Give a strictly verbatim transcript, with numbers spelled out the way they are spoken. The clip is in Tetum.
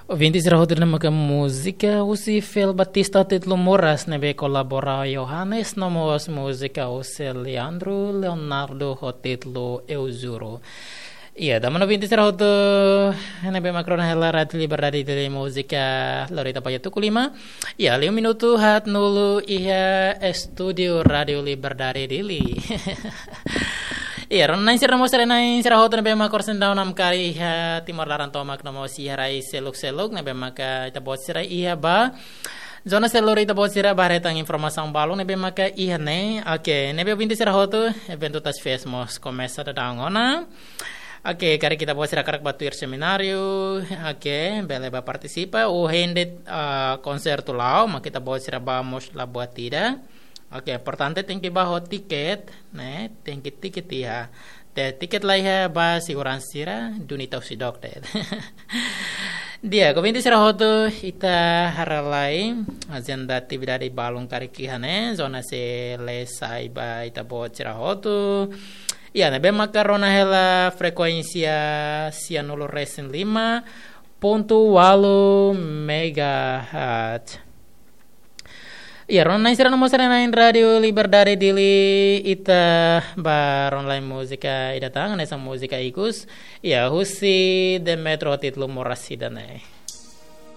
Ouvinte sira hotu, ne'e maka múzika husi Fel Batista ho títulu Moras ne'ebé kolabora Yohanes, no mós múzika husi Leandro Leonardo ho títulu Eu Juro. Iya, tanba ouvinte sira hotu, ne'ebé mak rona hela Rádio Liberdade Dili, múzika lori ita ba iha tuku lima. Iya, liu minutu haat-nulu iha estúdiu Rádio Liberdade Dili. Iya, rona-na'in sira no mós haree-na'in sira hotu ne'ebé mak oras ne'e daudaun namkari iha Timor laran tomak no mós iha rai seluk-seluk ne'ebé maka ita-boot sira iha ba zona seluk, ita-boot sira bá haree tan informasaun balun ne'ebé maka iha ne'e. Oke, ne'ebé ouvinte sira hotu, eventu Tasfest mós komesa daudaun ona. Oke, karik ita-boot sira hakarak bá tuir semináriu, oke, bele bá partisipa. Ou hende, ah, konsertu la'o, mak ita-boot sira bá mós la buat ida. Oke, importante tenke bá ho tiket, ne'e, tenke tiket iha. Te tiket la iha, bá seguransa sira duni tau sidok de'it. Di'ak, ouvinte sira hotu, ita haree lai ajenda atividade balun karik iha ne'e, zona se le sai ba ita-boot sira hotu. Iya, ne'ebé maka rona hela frekuénsia sianulu resin lima pontu ualu megahertz. Iya, rona-na'in sira no mós haree-na'in Rádio Liberdade Dili, ita bá rona lai múzika ida tan, hanesan múzika ikus. Iya, husi The Metro ho títulu Moras ida-ne'e.